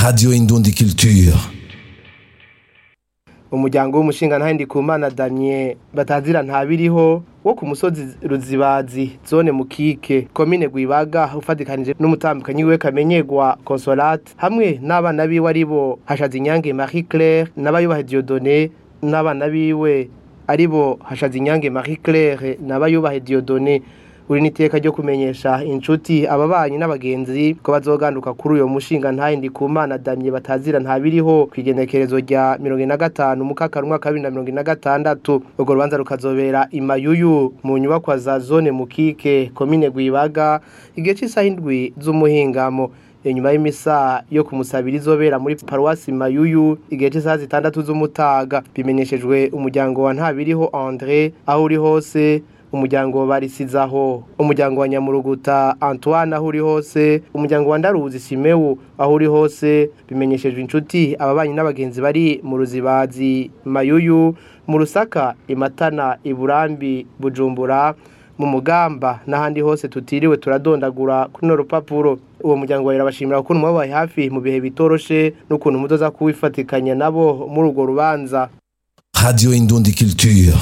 Radio Indundi Culture. Umuryango w'umushingantahe Ndikumana Damien batazira ntabiriho wo ku musozi Ruzibazi, zone Mukike, komine Gwibaga, ufatikanije n'umutambukanyi wiwe Kamenyegwa Consolate hamwe n'abana biwe aribo Hashazinyange Marie Claire n'Abayubahe Dieudonné, n'abana biwe aribo Hashazinyange Marie Claire n'Abayubahe Dieudonné, uri niteka ryo kumenyesha inshuti, ababanyi n'abagenzi ko bazoganduka kuri uyo mushingantahe Ndikumana Damien batazira ntabiriho kwigenekerezo rya 45 mukaka umwaka wa 2026. Urwo rubanza rukazobera imayuyu mu nyubakwa za zone Mukike, komine Gwibaga, igihe c'isaha 7 z'umuhingamo, inyuma y'imisa yo kumusabira izobera muri paruwasi Mayuyu igihe c'isaha 6 z'umutaga. Bimenyeshejwe umuryango wa Ntabiriho André aho uri hose, umuryango Barisizaho, umuryango wa Nyamuruguta Antoine aho uri hose, umuryango wa Ndaruzi Simewu aho uri hose. Bimenyeshejwe inshuti, ababanyi n'abagenzi bari mu Ruzibazi, Mayuyu, mu Rusaka, Imatana, Iburambi, Bujumbura, mu Mugamba n'ahandi hose tutiriwe turadondagura kuri no rupapuro. Uwo muryango barabashimira ukuntu mwabaye hafi mu bihe bitoroshe n'ukuntu muzoza kuwifatikanya nabo muri urwo rubanza. Radio Indundi Culture.